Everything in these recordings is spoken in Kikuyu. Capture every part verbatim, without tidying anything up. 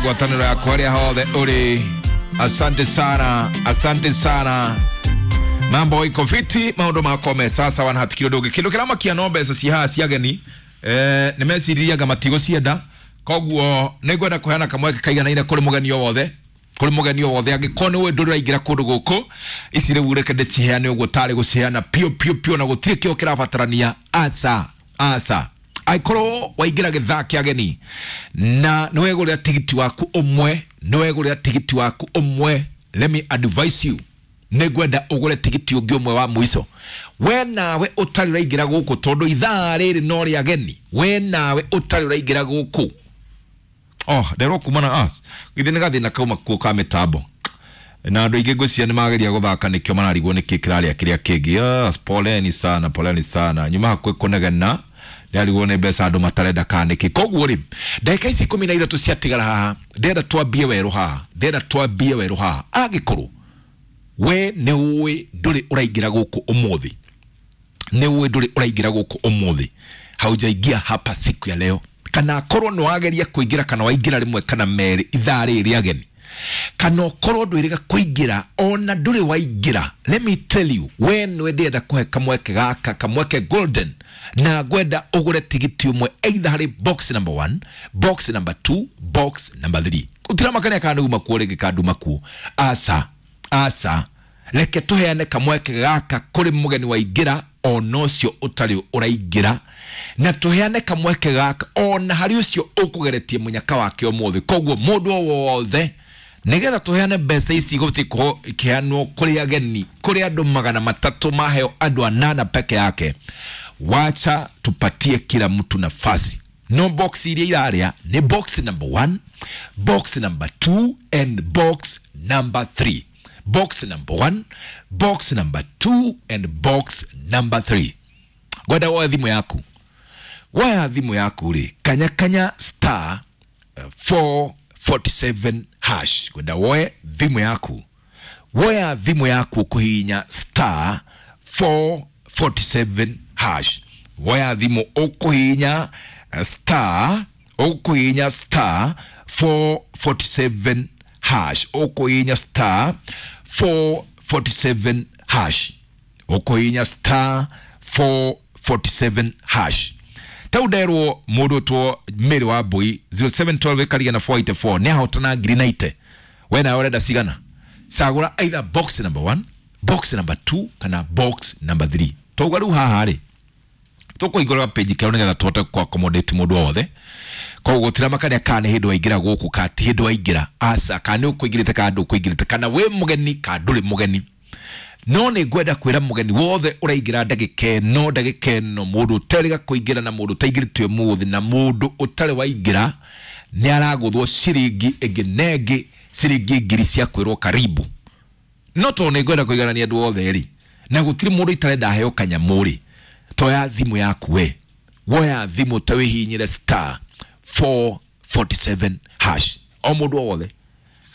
Ngwatanĩro yakwa arĩa hothe ũrĩ, asante sana, asante sana. Mambo iko fiti, maũndũ makwa me sasa wana hatikiri ũndũ ũngĩ. Kĩndũ kĩramakia no mbeca ci haha cia ageni, eh, nĩ meciriaga matigũcienda, koguo nĩ ngwenda kũheana kamweke kaiganaine kũrĩ mũgeni o wothe, kũrĩ mũgeni o wothe angĩkorwo nĩ ũĩ ndũrĩ ũraingĩra kũndũ gũkũ, ici rĩu reke ndĩciheane ũguo tarĩ gũciheana piũ piũ piũ na gũtirĩ kĩo kĩrabatarania. Aca aca, angĩkorwo waingĩra gĩthaa kĩa ageni na nĩ wegũrĩra tigiti waku ũmwe, nĩ wegũrĩra tigiti waku ũmwe, let me advise you, nĩ ngwenda ũgũre tigiti ũngĩ ũmwe wa mũico. We nawe ũtarĩ ũraingĩra gũkũ, tondũ ithaa rĩrĩ no rĩa ageni, we nawe ũtarĩ ũraingĩra gũkũ, oh nderwo kuma na us githĩ nĩ gathĩna kauma kuo ka mĩtambo na andũ aingĩ ngwĩciria nĩ mageria gũthaka nĩkĩo mararigwo nĩkĩ kĩrarĩa kĩrĩa kĩngĩ. Yes, poleni sana, poleni sana, nyuma hakuhĩ kũnegena ndĩrarigwo nĩ mbeca andũ matarenda kana nĩkĩ. Koguo rĩ, ndagĩka ici ikũmi na ithatũ ciatigara haha, ndĩrenda twambie werũ haha, ndĩrenda twambie werũ haha. Angĩkorwo we nĩ ũĩ ndũrĩ ũraingĩra gũkũ ũmũthĩ, nĩ ũĩ ndũrĩ ũraingĩra gũkũ ũmũthĩ, haujaingia hapa siku ya leo, kana akorwo nĩ wageria kũingĩra kana waingĩra rĩmwe kana merĩ ithaa rĩrĩ rĩa ageni, kana ũkorwo ndwĩrĩga kũingĩra ona ndũrĩ waingĩra, let me tell you, we nĩwe ndĩrenda kũhe kamweke gaka, kamweke golden, na ngwenda ũgũre tigiti ũmwe either harĩ box number one, box number two, box number three. Ũtiramakania kana nĩ uma kuo rĩngĩ kana nduma kuo, aca aca, reke tũheane kamweke gaka kũrĩ mũgeni waingĩra ona ũcio ũtarĩ ũraingĩra, na tũheane kamweke gaka ona harĩ ũcio ũkũgeretie mũnyaka wake ũmũthĩ. Koguo mũndũ o wothe, nĩgetha tũheane mbeca ici igũbatiĩ gũkorwo ikĩheanwo kũrĩ ageni, kũrĩ andũ magana matatũ maheo andũ anana peke yake. Wacha tupatie kila mtu nafasi. No box iria irarĩa nĩ box number one, box number two and box number three. Box number one, box number two and box number three. Ngwenda woe thimũ yaku, woya thimũ yaku rĩ, kanya kanya star four forty-seven hash. Ngwenda woe thimũ yaku, woya thimũ yaku ũkũhihinya star four forty-seven hash. Woya thimũ ũkũhihinya star, ũkũhihinya star four forty-seven hash, ũkũhihinya star four forty-seven hash, ũkũhihinya star four forty-seven hash. Tau nderwo mũndũ ũtwo Mary wa Mbui zero seven twelve ĩkariga na four eighty-four nĩ ahotana ngiri na ite. We nawe ũrenda cigana? Cagũra either box number one, box number two kana box number three. Twauga rĩu haha rĩ, tũkũhingũra page kĩerũ nĩgetha tũhote kũ accommodate mũndũ wothe. Koguo gũtiramakania kana nĩ hĩndĩ waingĩra gũkũ kana ti hĩndĩ waingĩra, aca, kana nĩ ũkũingĩrĩte kana ndũkũingĩrĩte, kana wĩ mũgeni kana ndũrĩ mũgeni. No nĩ ngwenda kwĩra mũgeni wothe ũraingĩra ndagĩka ĩno, ndagĩka ĩno, mũndũ ũterĩga kũingĩra na mũndũ ũtaingĩrĩte ũmũthĩ na mũndũ ũtarĩ waingĩra nĩ aragũthwo ciringi ĩngĩ na ĩngĩ, ciringi ngiri cia kwĩrwo karibu. No tondũ nĩ ngwenda kũiganania andũ othe rĩ, na gũtirĩ mũndũ itarenda aheo kanyamũ rĩ, toya thimũ yaku we, woya thimũ ta wĩhihinyĩre star four forty-seven hash. O mũndũ o wothe,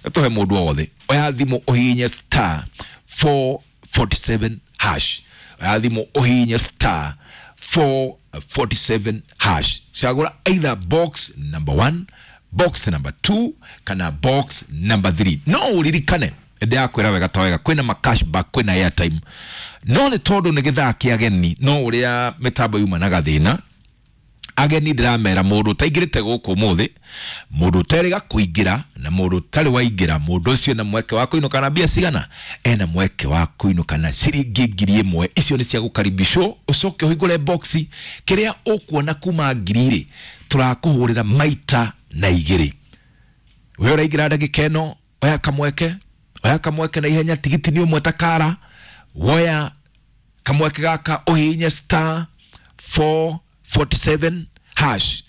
tũhe mũndũ o wothe, oya thimũ ũhihinye star four forty-seven hash. Oya thimũ ũhihinye star four forty-seven hash. Cagũra either box number one, box number two kana box number three. No ũririkane ndĩrakwĩra wega ta wega, kwĩna ma cashback, kwĩna airtime, no nĩ tondũ nĩ gĩthaa kĩa ageni, no ũrĩa mĩtambo yuma na gathĩna, ageni ndĩramera mũndũ ũtaingĩrĩte gũkũ ũmũthĩ, mũndũ ũterĩga kũingĩra na mũndũ ũtarĩ waingĩra, mũndũ ũcio ena mweke wa kũinũka na mbia cigana? Ena mweke wa kũinũka na ciringi ngiri ĩmwe. Icio nĩ cia gũkaribishwo, ũcoke ũhingũre box kĩrĩa ũkuona kuma ngiri rĩ, tũrakũhũrĩra maita na igĩrĩ. We ũraingĩra ndagĩka ĩno, oya kamweke, oya kamweke na ihenya, tigiti nĩ ũmwe ta kara, woya kamweke gaka ũhihinye star four forty-seven hash.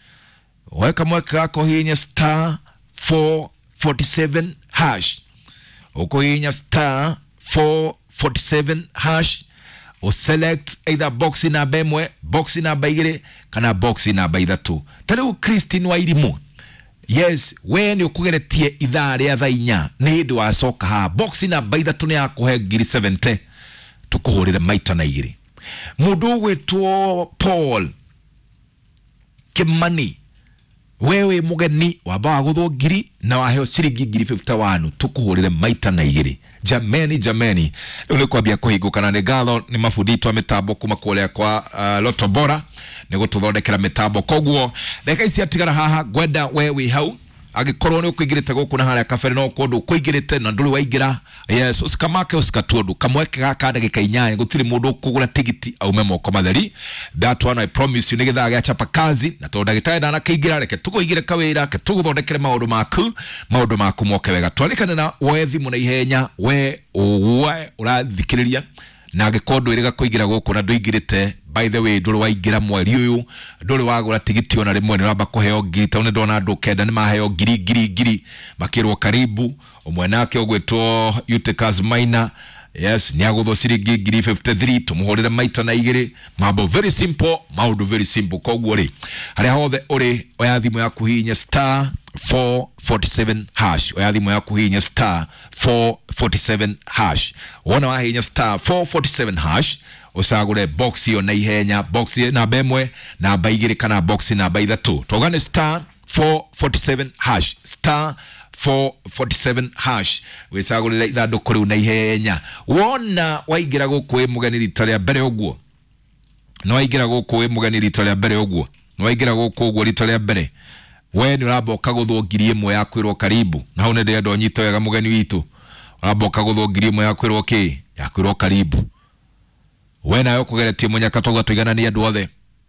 Woya kamweke gaka ũhihinye star four forty-seven hash. Ũkũhihinya star four forty-seven hash, ũselect either box namba ĩmwe, box namba igĩrĩ kana box namba ithatũ. Ta rĩu Christine Wairimu, yes, we nĩ ũkũgeretie ithaa rĩa thaa inya, nĩ hĩndĩ wacoka haha, box namba ithatũ nĩ yakũhe ngiri seventy, tũkũhũrĩre maita na igĩrĩ. Mũndũ ũgwĩtwo Paul Kimani Wewe mugeni wamba waguthwo ngiri na waheo ciringi ngiri fifty-one tukuhurire maita na igiri. Jameni jameni, riu ni kwambia kuhingukana. Ni ngatho ni mabunditwa mitambo kuma kuria kwa uh, Lotto Bora ni gututhondekera mitambo. Koguo ndagika ici atigara haha ngwenda we wi hau angikorwo ni ukuingirite guku na haria kabere no kundu ukuingirite na nduri waingira, yes, usikamake usikatuondu kamweke gaka ndagika inyanya gutiri mundu ukugura tigiti aume moko matheri. That one I promise you ni githaa gia chapa kazi na tondu ndagitari ndanakiingira reke tuguigire kawira ke tuguthondekere maundu maku maundu maku moke wega. Twarikane na woe thimu na ihenya we we urathikiriria na angikorwo ndwiriga kuingira guku na nduingirite, by the way nduri waingira mweri uyu nduri wagura tigiti ona rimwe ni uramba kuheo ngiri tau ni ndona andu kenda ni maheo ngiri ngiri ngiri makirwo karibu. Umwe nake ugwitwo Eutychus Maina, yes, ni aguthwo ciringi ngiri fifty-three tumuhurire maita na igiri. Mambo very simple, maundu very simple. Koguo ri haria hothe uri oya thimu yaku hinya star four forty-seven hash, oya thimu yaku hinya star four forty-seven hash. Wona wahinya star four forty-seven hash ucagure box iyo na ihenya, box namba imwe namba igiri kana box namba ithatu. Togane star four forty-seven hash, star four forty-seven hash wicagurire ithanduku riu na ihenya. Wona waingira guku wi mugeni rita ria mbere uguo, no waingira guku wi mugeni rita ria mbere uguo, no waingira guku uguo rita ria mbere, we ni uramba ukaguthwo ngiri imwe ya kwirwo karibu. Na hau ni ndĩrenda ũnyite wega mũgeni witũ, uramba ukaguthwo ngiri imwe ya kwirwo ki ya kwirwo karibu. We nawe ũkũgeretie mũnyaka tauga tũigananie andũ othe.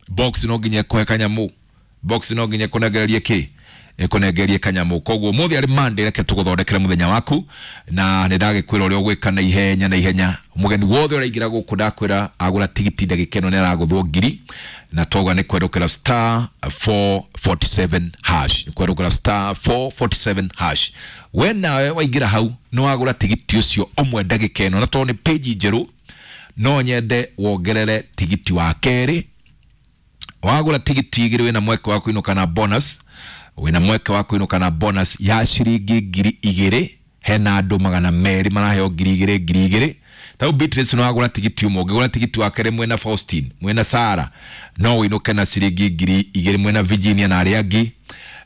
Box no nginya ĩkũhe kanyamu, box no nginya ĩkũnengererie kĩ ĩkũnengererie kanyamu. Koguo mũthĩ arĩ Monday, reke tũgũthondekere mũthenya waku na nĩ ndagĩkwĩra ũrĩa ũgwĩka na ihenya na ihenya. Mũgeni wothe ũraingĩra gũkũ ndakwĩra agũra tigiti ndagĩka ĩno nĩ aragũthwo ngiri na toga nĩ kwerũkĩra star four forty-seven hash, kwerũkĩra star four forty-seven hash. We nawe waingĩra hau nĩ wagũra tigiti ũcio ũmwe ndagĩka ĩno, na tondũ nĩ page njerũ no nyende wongerere tigiti wa kerĩ. Wagũra tigiti igĩrĩ wĩna mweke wa kũinũka na bonus, wĩna mweke wa kũinũka na bonus ya ciringi ngiri igĩrĩ. Hena andũ magana merĩ maraheo ngiri igĩrĩ ngiri igĩrĩ. Tau Beatrice no wagũra tigiti ũmwe, ũngĩgũra tigiti wa kerĩ mwena Faustine mwena Sara no wĩinũke na ciringi ngiri igĩrĩ mwena Virginia na arĩa angĩ.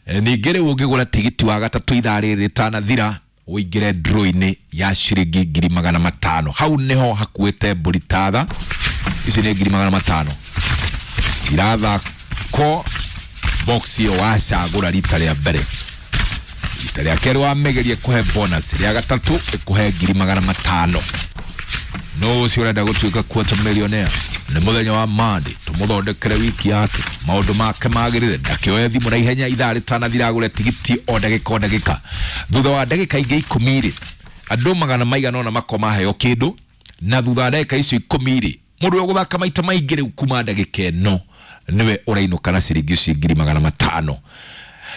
Ningĩ rĩu ũngĩgũra tigiti wa gatatũ ithaa rĩrĩ rĩtanathira ũingĩre draw-inĩ ya ciringi ngiri magana matano. Hau niho hakuĩte mbũri tatha, ici nĩ ngiri magana matano irathakwo box iyo wacagũra rita rĩa mbere. Rita rĩa kerĩ wamĩgerie kũhe bonus, rĩa gatatũ ĩkũhe ngiri magana matano. No ũcio ũrenda gũtuĩka quarter millionaire nĩ mũthenya wa Monday, tũmũthondekere wiki yake maũndũ make magĩrĩre. Ndakĩoe thimũ na ihenya ithaa rĩtanathira agũre tigiti o ndagĩka o ndagĩka. Thutha wa ndagĩka ingĩ ikũmi rĩ, andũ magana maigana ũna makorwo maheo kĩndũ, na thutha wa ndagĩka icio ikũmi rĩ, mũndũ ũrĩa ũgũthaka maita maingĩ rĩu kuma ndagĩka ĩno nĩwe ũrainũka na ciringi icio ngiri magana matano.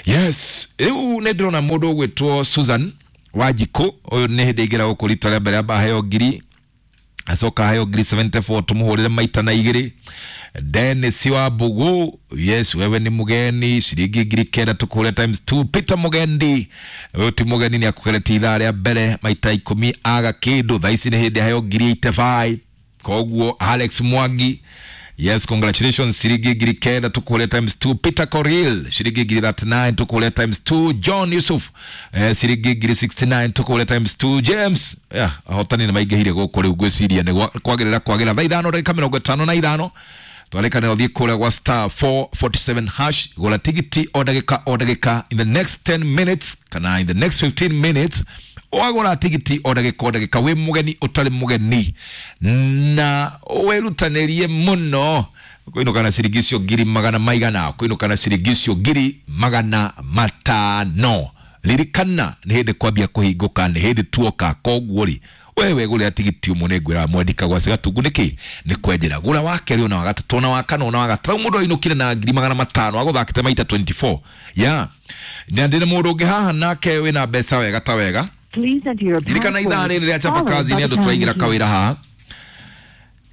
Yes, rĩu nĩ ndĩrona mũndũ ũgwĩtwo Susan Wanjikũ, ũyũ nĩ hĩndĩ aingĩra gũkũ rita rĩa mbere amba aheo ngiri, acoka aheo ngiri seventy-four tũmũhũrĩre maita na igĩrĩ. Dennis wa Mbugu, yes, wewe ni mugeni, ciringi ngiri kenda tũkũhũre times two. Peter Mugendi, ũyũ ti mũgeni nĩ akũgeretie ithaa rĩa mbere maita ikũmi aga kĩndũ, thaa ici nĩ hĩndĩ aheo ngiri eighty-five. Koguo Alex Mwangi, yes, congratulations, ciringi ngiri kenda tukule times two. Peter Koril, ciringi ngiri thirty-nine tukule times two. John Yusuf, eh, ciringi ngiri sixty-nine tukule times two. James, yeah, ahotani nĩ maingĩhire gũkũ rĩu ngwĩciria nĩ kwagĩrĩra kwagĩra. Thaa ithano ndagĩka mĩrongo ĩtano na ithano twarĩkanĩra ũthiĩ kũrĩa gwa star four forty-seven hash, gũra tigiti o ndagĩka o ndagĩka in the next ten minutes kana in the next fifteen minutes. Wagũra tigiti o ndagĩka o ndagĩka wĩ mũgeni ũtarĩ mũgeni na wĩrutanĩrie mũno kũinũka na ciringi icio ngiri magana maigana, kũinũka na ciringi icio ngiri magana matano. Ririkana nĩ hĩndĩ kwambia kũhingũka, nĩ hĩndĩ tuoka. Koguo rĩ wewe gũrĩra tigiti ũmwe nĩ ngwĩra mwendika gwa Gatungu nĩkĩ nĩ kwenjera. Gũra wa kerĩ ona wa gatatũ ona wa kana ona wa gatatũ. Mũndũ ainũkire na ngiri magana matano agũthakĩte maita twenty-four. Yeah, na ndĩna mũndũ ũngĩ haha nake wĩna mbeca wega ta wega. Ririkana ithaa rĩrĩ rĩa chapa kazi nĩ andũ tũraingĩra kawĩra haha.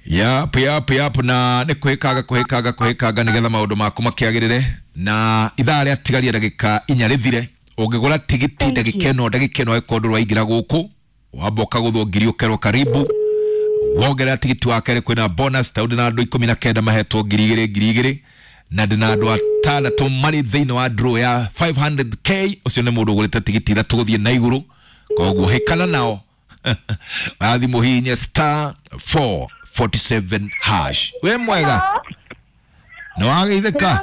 Yap, yap, yap, na nĩ kwĩkaga kwĩkaga kwĩkaga nĩgetha maũndũ maku makĩagĩrĩre. Na ithaa rĩa tigaria ndagĩka inya rĩthire, ũngĩgũra tigiti ndagĩka ĩno ndagĩka ĩno ĩkorwo ndũraingĩra gũkũ wamba ũkagũthwo ngiri ũkerwo karibu. Wongerera tigiti wa kerĩ kwĩna bonus tondũ na andũ ikũmi na kenda mahetwo ngiri igĩrĩ ngiri igĩrĩ. Na ndĩna andũ atandatũ marĩ thĩinĩ wa draw ya five hundred k. Ũcio nĩ mũndũ ũgũrĩte tigiti ithatũ gũthiĩ na igũrũ, koguo hĩkana nao. Wathi mũhihinye star four forty-seven hash. Wĩ mwega? Nĩ wageithĩka?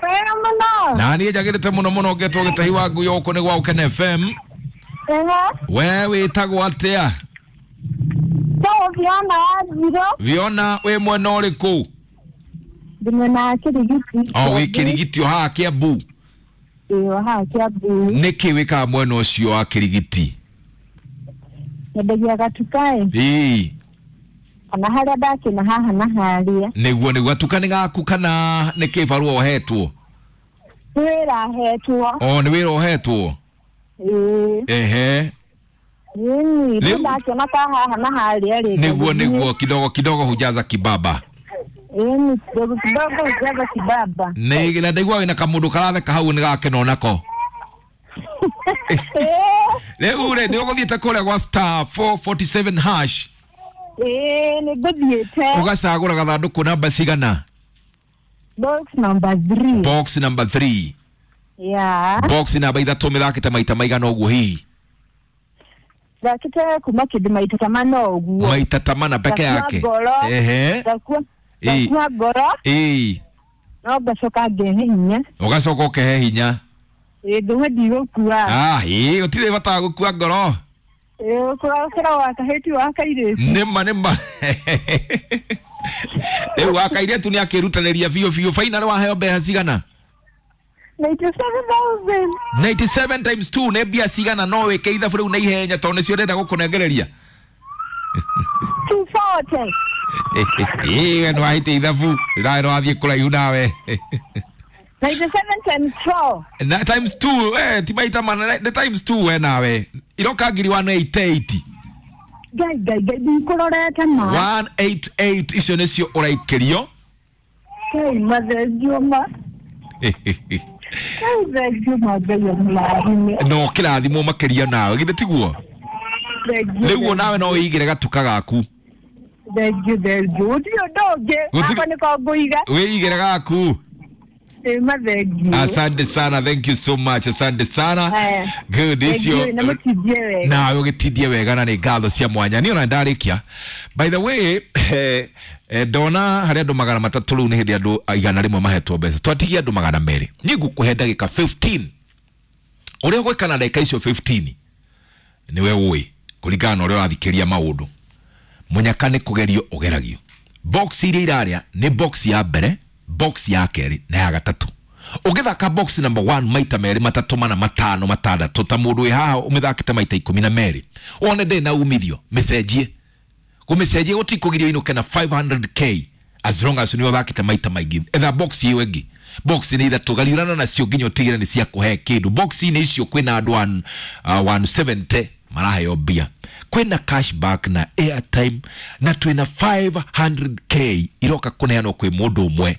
Wega mũno. Na niĩ njagĩrĩte mũno mũno ngetwo Gĩtahi wa Ngui gũkũ nĩ gwa Ũkene F M. We wĩtagwo atĩa? Njĩtagwo Fiona wa Njirũ. Fiona, wĩ mwena ũrĩkũ? Ndĩ mwena wa Kĩrigiti. O wĩ Kĩrigiti o haha Kĩambu? Ĩĩ, o haha Kĩambu. Nĩkĩ wĩkaga mwena ũcio wa Kĩrigiti? Nyendagia gatuka-ĩ. Ĩĩ. Kana harĩa ndakĩna haha na harĩa. Nĩguo, nĩguo. Gatuka nĩ gaku kana nĩ kĩbarũa ũhetwo? Nĩ wĩra hetwo. O, nĩ wĩra ũhetwo? Ĩĩ. Ehe. Ĩĩ, rĩu ndakĩona ka haha na harĩa rĩ. Nĩguo, nĩguo, kidogo kidogo hujaza kibaba. Ĩĩ, kidogo kidogo hujaza kibaba. Nĩ na ndaigua wĩna kamũndũ karatheka hau nĩ gakena onako. Rĩu rĩ, nĩ ũgũthiĩte kũrĩa gwa star four forty-seven hash? Ĩĩ, nĩ ngũthiĩte. Ũgacagũra gathandũkũ namba cigana? Box number three. Box number three. Yeah. Box namba ithatũ mĩthakĩte maita maigana ũguo hihi? Thakĩte kuma kĩndũ maita ta mana ũguo. Maita ta mana peke yake. Ehe. Ngakua ngoro. Ĩĩ. No ngacoka ngehe hinya. Ũgacoka ũkehe hinya. Ĩĩ, ndauga ndigũkua. Ah, ĩĩ, gũtirĩ bata wa gũkua ngoro. Ĩĩ, ũkũra wa kahĩti wa kairĩtu. Nĩma, nĩma. Rĩu wa kairĩtu nĩ akĩrutanĩria biũ biũ. Finally waheo mbeca cigana? ninety-seven thousand. ninety-seven times two nĩ mbia cigana? No wĩke ithabu rĩu na ihenya tondũ nĩcio ndĩrenda gũkũnengereria. two forty. Ĩĩ, we nĩwahĩtia ithabu. Nawe nĩwathiĩ kũraihu nawe. ninety-seven times four. Na times two, eh, ti maita mana, nĩ times two we nawe. Iroka ngiri one eighty-eight. Ngai, ngai, ngai, ndikũrorete ma. one eighty-eight icio nĩcio ũraikĩrio. Ngai, mathengio ma. Ngai, thengio ma, Ngai amũrathime. No kĩrathimwo makĩria nawe, githĩ tiguo? Rĩu nawe no wĩigĩre gatuka gaku. Thengio, thengio. Gũtirĩ ũndũ ũngĩ, gakwa nĩko ngũiga. Wĩigĩre gaku. Asante sana, thank you so much, asante sana. Good, icio nawe ũgĩtindie wega na nĩ ngatho cia mwanya. Niĩ ona ndarĩkia. By the way, eh, ndona harĩ andũ magana matatũ rĩu nĩ hĩndĩ andũ igana rĩmwe mahetwo mbeca. Twatigia andũ magana merĩ. Niĩ ngũkũhe ndagĩka fifteen. Ũrĩa ũgwĩka na ndagĩka icio fifteen nĩwe ũĩ kũringana na ũrĩa ũrathikĩria maũndũ. Mũnyaka nĩ kũgerio ũgeragio. Box iria irarĩa nĩ box ya mbere, box ya kerĩ na ya gatatũ. Ũgĩthaka box number one maita merĩ, matatũ, mana, matano, matandatũ, ta mũndũ wĩ haha ũmĩthakĩte maita ikũmi na merĩ, wone ndĩrĩ na umithio, mĩcenjie. Kũmĩcenjia gũtikũgiria ũinũke na five hundred k as long as nĩ ũthakĩte maita maingĩ. Etha box ĩyo ĩngĩ. Box nĩ ithatũ, gariũrana nacio nginya ũtigĩre nĩ cia kũhe kĩndũ. Box inĩ icio kwĩna andũ one, uh, one seventy maraheo mbia. Kwĩna cashback na airtime na twĩna five hundred k iroka kũneanwo kwĩ mũndũ ũmwe.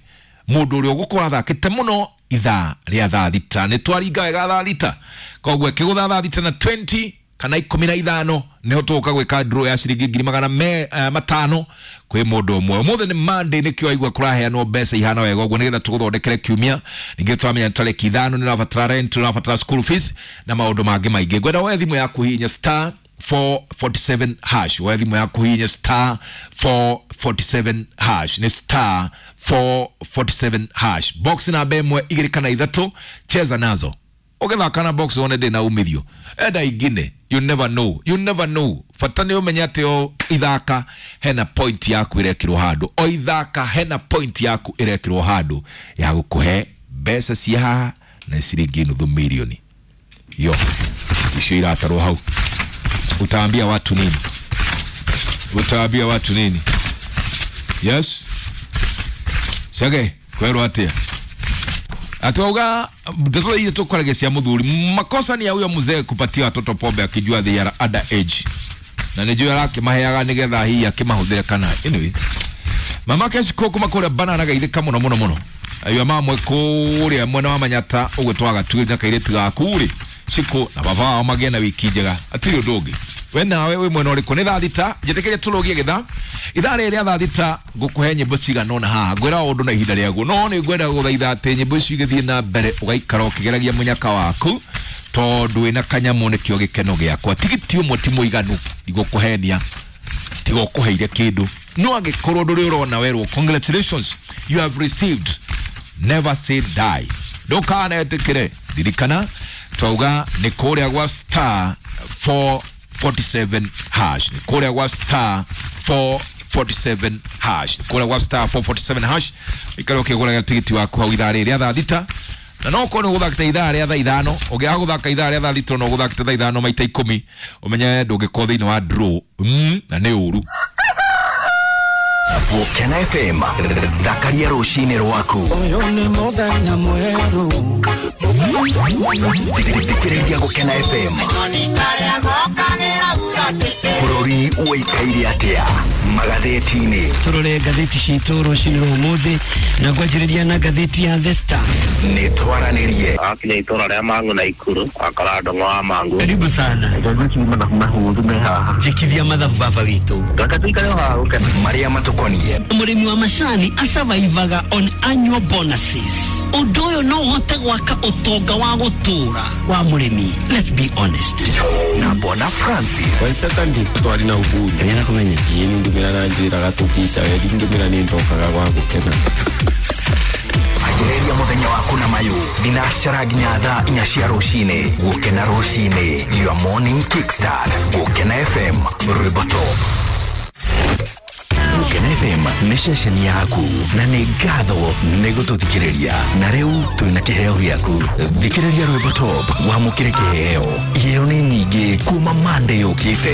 Mũndũ ũrĩa ũgũkorwo athakĩte mũno ithaa rĩa thaa thita. Nĩ twaringa wega thaa thita. Koguo ĩkĩgũtha thaa thita na twenty kana ikũmi na ithano nĩho tũgũka gwĩka draw ya ciringi ngiri magana me, uh, matano kwĩ mũndũ ũmwe. Ũmũthĩ nĩ Monday, nĩkĩo waigua kũraheanwo mbeca ihana wega ũguo nĩgetha tũgũthondekere kiumia. Ningĩ twamenya nĩ tarĩki ithano, nĩ ũrabatara rent, nĩ ũrabatara school fees na maũndũ mangĩ maingĩ. Ngwenda woe thimũ yaku hihinya star four forty-seven hash. Woe thimũ yaku hihinya star four forty-seven hash. Nĩ star four forty-seven hash. Box namba ĩmwe, igĩrĩ kana ithatũ, cheza nazo. Ũgĩthaka na box wone ndĩna umithio. Enda ingine, you never know, you never know. Bata nĩ ũmenye atĩ o ithaka hena point yaku ĩrekĩrwo handũ. O ithaka hena point yaku ĩrekĩrwo handũ ya gũkũhe mbeca cia haha na ciringi nuthu mirioni. Yo, icio iratarwo hau. Utaambia watu nini? Utaambia watu nini? Yes? Chage, kwerwo atia? Atuauga ndeto hiyo tukwaragia cia muthuri. Makosa ni ya huyo mzee kupatia watoto pombe akijua they are under age. Na nijua arakĩmaheaga nĩgetha hihi akĩmahũthĩre kana. Anyway, mama Keshiko kuma kũrĩa banana gaithĩka mũno mũno mũno. Ayo mamwe kũrĩa mwena wa Manyata ũgwĩtwa gatuĩria kairĩtu gaku rĩ. Shiko na baba wao magĩe na wiki njega. Atirĩ ũndũ ũngĩ. We nawe wĩ mwena ũrĩkũ? Nĩ thaa thita, njĩtĩkĩrie tũrũgie gĩthaa ithaa rĩrĩ rĩa thaa thita. Ngũkũhe nyĩmbo cigana ũna haha, ngwĩra ũndũ na ihinda rĩaguo, no nĩ ngwenda gũthaitha atĩ nyĩmbo icio igĩthiĩ na mbere ũgaikara ũkĩgeragia mũnyaka waku, tondũ wĩna kanyamũ nĩkĩo gĩkeno gĩakwa. Tigiti ũmwe ti mũiganu, ndigũkũhenia, tiga ũkũheire kĩndũ. No angĩkorwo ndũrĩ ũrona werwo congratulations, you have received, never say die, ndũkanetĩkĩre. Ririkana twauga nĩ kũrĩa gwa star four forty-seven hash, nĩ kũrĩa gwa star four forty-seven hash, nĩ kũrĩa gwa star four forty-seven hash. Ikara ũkĩgũraga tigiti waku hau ithaa rĩrĩ rĩa thaa thita, na no korwo nĩ gũthakĩte ithaa rĩa thaa ithano, ũngĩaga gũthaka ithaa rĩa thaa thita, no gũthakĩte thaa ithano maita ikũmi, ũmenye ndũngĩkorwo thĩinĩ wa draw mm, na nĩ ũru. Gũkena F M, thakaria rũcinĩ rwaku. Ũyũ nĩ mũthenya mwerũ. Thikĩrĩria Gũkena F M. Bũrũri ũikaire atĩa magathĩti-inĩ? Tũrore ngathĩti citũ rũcinĩ rwa ũmũthĩ na ngwanjĩrĩria na ngathĩti ya The Star. Nĩ twaranĩrie. Akinya itũra rĩa Mang'u na Ikuru akora ndong'o wa Mang'u. Karibu sana. Njĩkithia mathabu baba witũ. Reke tuikare o haha gũkena. Marĩa matũkoniĩ. Mũrĩmi wa macani asurvivaga on annual bonuses. Ũndũ ũyũ no ũhote gwaka ũtonga wa gũtũũra wa mũrĩmi. Let's be honest. Na Bwana Francis. Waisaka twari na uhuru. Nĩ nakũmenya. Ĩĩ, nĩ ndumĩra na njĩraga tũkica wendi ndumĩra nĩ ndokaga gwa gũkena. Anjĩrĩria mũthenya waku na mayũ thinacara nginya thaa inya cia rũcinĩ. Gũkena rũcinĩ, your morning kickstart. Gũkena F M, rwĩmbo top. Gũkena F M nĩ ceceni yaku na nĩ ngatho nĩ gũtũthikĩrĩria, na rĩu twĩna kĩheo gĩaku. Thikĩrĩria rwĩmbo top wamũkĩre kĩheo. Iheo nĩ nyingĩ kuma Monday yũkĩte.